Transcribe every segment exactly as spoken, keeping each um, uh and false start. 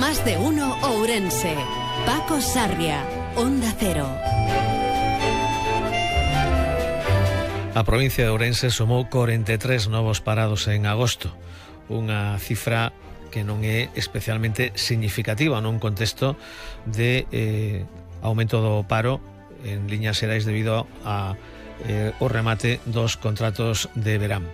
Más de uno Ourense. Paco Sarria, Onda Cero. A provincia de Ourense sumou cuarenta y tres novos parados en agosto, unha cifra que non é especialmente significativa nun contexto de eh, aumento do paro en liñas xerais debido a eh, o remate dos contratos de verán.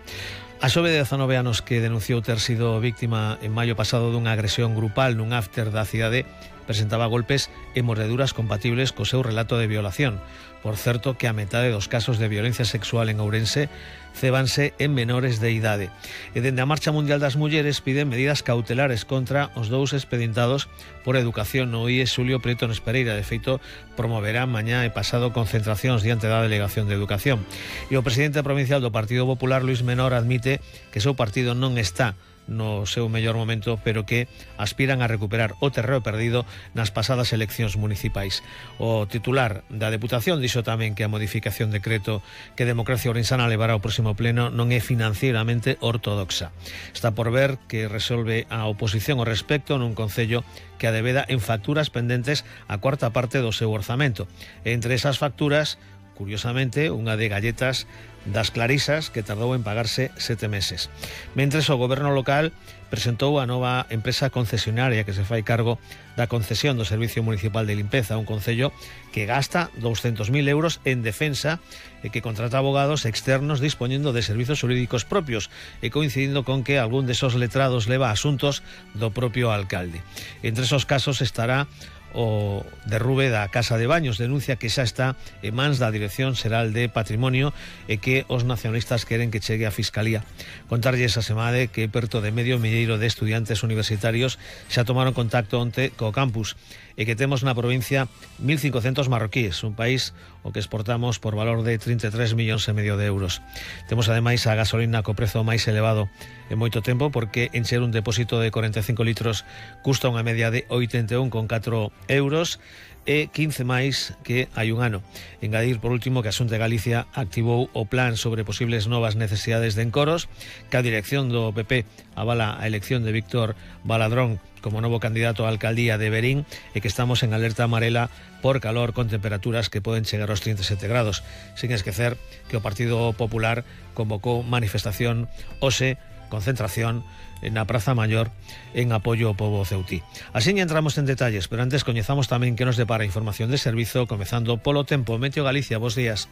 A xove de dezanove anos que denunciou ter sido víctima en maio pasado dunha agresión grupal nun after da cidade presentaba golpes e mordeduras compatibles co seu relato de violación. Por certo que a metade dos casos de violencia sexual en Ourense cébanse en menores de idade. E dende a Marcha Mundial das Mulleres piden medidas cautelares contra os dous expedientados por educación no I E Xulio Prieto Nespereira. De feito, promoverá mañá e pasado concentracións diante da Delegación de Educación. E o presidente provincial do Partido Popular, Luis Menor, admite que o seu partido non está no seu mellor momento, pero que aspiran a recuperar o terreo perdido nas pasadas eleccións municipais. O titular da Deputación dixo tamén que a modificación de decreto que Democracia Ourensana levará ao próximo pleno non é financieramente ortodoxa. Está por ver que resolve a oposición ao respecto nun concello que adebeda en facturas pendentes a cuarta parte do seu orzamento. E entre esas facturas, curiosamente, unha de galletas das Clarisas que tardou en pagarse sete meses. Mentres o goberno local presentou a nova empresa concesionaria que se fai cargo da concesión do Servicio Municipal de Limpeza, un concello que gasta douscentos mil euros en defensa e que contrata abogados externos dispoñendo de servizos jurídicos propios e coincidindo con que algún desos letrados leva asuntos do propio alcalde. Entre esos casos estará o derrube da Casa de Baños, denuncia que xa está en mans da Dirección Xeral de Patrimonio e que os nacionalistas queren que chegue a Fiscalía. Contarlle esa semade que perto de medio milleiro de estudiantes universitarios xa tomaron contacto onte co campus e que temos na provincia mil cincocentos marroquíes, un país o que exportamos por valor de trinta e tres millóns e medio de euros. Temos ademais a gasolina co prezo máis elevado en moito tempo, porque encher un depósito de cuarenta e cinco litros custa unha media de oitenta e un con catro euros e quince máis que hai un ano. Engadir, por último, que a Xunta de Galicia activou o plan sobre posibles novas necesidades de encoros, que a dirección do P P avala a elección de Víctor Baladrón como novo candidato á alcaldía de Verín e que estamos en alerta amarela por calor con temperaturas que poden chegar aos trinta e sete grados. Sin esquecer que o Partido Popular convocou manifestación hoxe, concentración na Praza Maior en apoio ao pobo ceutí. Así entramos en detalles, pero antes coñezamos tamén que nos depara información de servizo, comezando polo tempo. Meteo Galicia, bos días.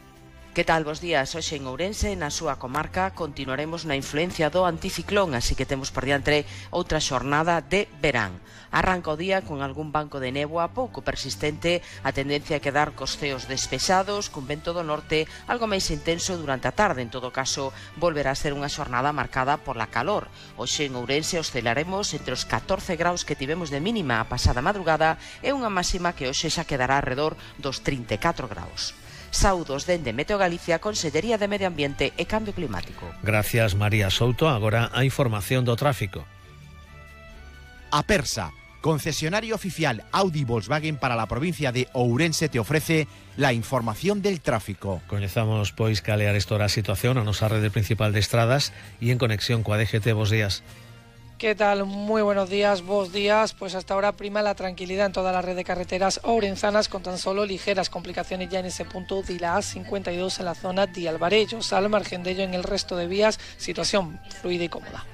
Que tal, bos días? Hoxe en Ourense, na súa comarca, continuaremos na influencia do anticiclón, así que temos por diante outra xornada de verán. Arranca o día con algún banco de néboa pouco persistente, a tendencia a quedar cos ceos despexados, cun vento do norte algo máis intenso durante a tarde. En todo caso, volverá a ser unha xornada marcada pola calor. Hoxe en Ourense oscilaremos entre os catorce graus que tivemos de mínima a pasada madrugada e unha máxima que hoxe xa quedará alrededor dos trinta e catro graus. Saudos dende Meteo Galicia, Consellería de Medio Ambiente e Cambio Climático. Gracias, María Souto. Agora a información do tráfico. Apersa, concesionario oficial Audi Volkswagen para la provincia de Ourense, te ofrece la información del tráfico. Coñezamos, pois, cal é a estora situación a nosa rede principal de estradas e en conexión coa D G T. Bos días. ¿Qué tal? Muy buenos días, vos días. Pues hasta ahora prima la tranquilidad en toda la red de carreteras ourensanas, con tan solo ligeras complicaciones ya en ese punto de la A cincuenta y dos en la zona de Alvarellos. Al margen de ello, en el resto de vías, situación fluida y cómoda.